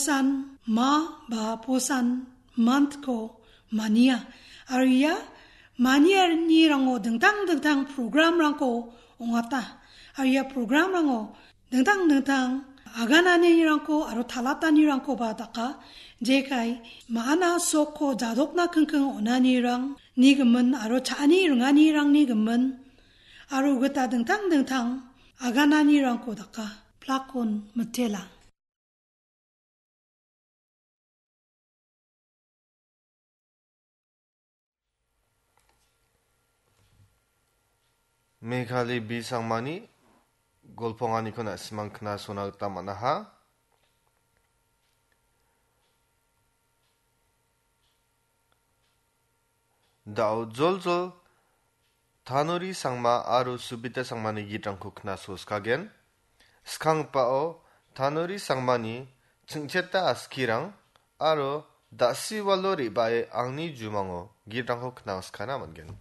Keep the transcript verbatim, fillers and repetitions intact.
Posan ma ba Posan month-ko mania. Aro ia manianirango dingtang dingtang program-rangko ong·ata. Aro ia program-rango dingtang dingtang agananirangko aro talatanirangkoba daka. Jekai ma·ana sokko jadokna kingking on·anirangni gimin aro cha·ani ringanirangni gimin aro gita dingtang dingtang agananirangko daka. Plakon mitela. Meghali B Sangmani golponganiko na·simang knasona gita man·aha. Da·o joljol Tanuri Sangma aro Subita Sangmani gitrangko knaso skagen. Skanggipao Tanuri Sangmani chingcheta askirang aro dasiwalo re·bae angni jumango gitrangko knangskana man·gen.